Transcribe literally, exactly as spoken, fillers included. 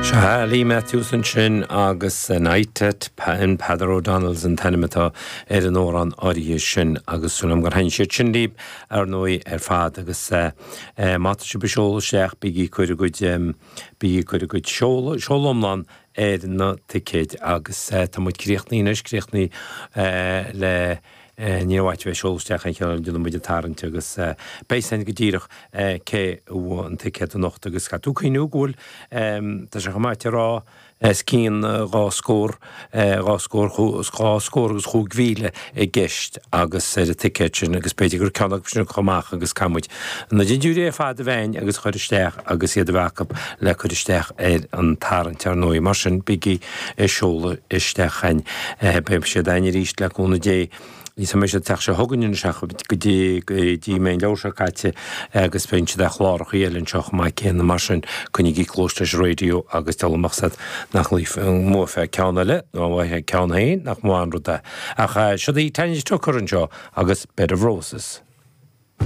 Sea, Lee Matthews ansin agus Night at in Peadar O'Donnell's an t-ainm atá ar an amhrán áirithe sin agus súil agam gur thaitin siad sin libh ar ndóigh ar fad agus má tá sibh ag seoladh isteach bígí ag cur bhur gcuid bígí ag cur bhur gcuid seoladh seoladh iomlán ar na ticéid agus tá muid críochnaithe anois críochnaithe le ní raibh áit a bheith ag seoladh isteach aon cheann déanfaidh muid an tarraingt agus beidh sin go díreach cé a bhuaigh an ticéad anocht agus caithfidh tú cuimhniú go bhfuil tá sé chomh maith a rá os cionn dhá scór dhá scór dhá scór agus chúig mhíle i gceist agus ar an ticéad sin agus b'fhéidir gur ceann acu sin a chur amach agus caithfidh muid na dintiúirí ar fad a bheith againn agus a chur isteach agus iad a bheith acu le cur isteach ar an tarraingt ar ndóigh mar sin bígí ag seoladh isteach chugainn beidh siad againn arís le cúnamh Dé. Ní mbeidh siad an tseachtain seo chugainn anois ach go dtí go dtí mbeidh an leabhar seo caite agus beidh siad ar chlárachaí eile anseo chomh maith céanna mar sin coinnígí cluas leis an raidió agus deabhal amach sad nach mbuafá ceann eile nó an bhfaighfeá ceann féin nach maith an rud é. Ach siod í Tanya Tucker anseo agus Bed of Roses.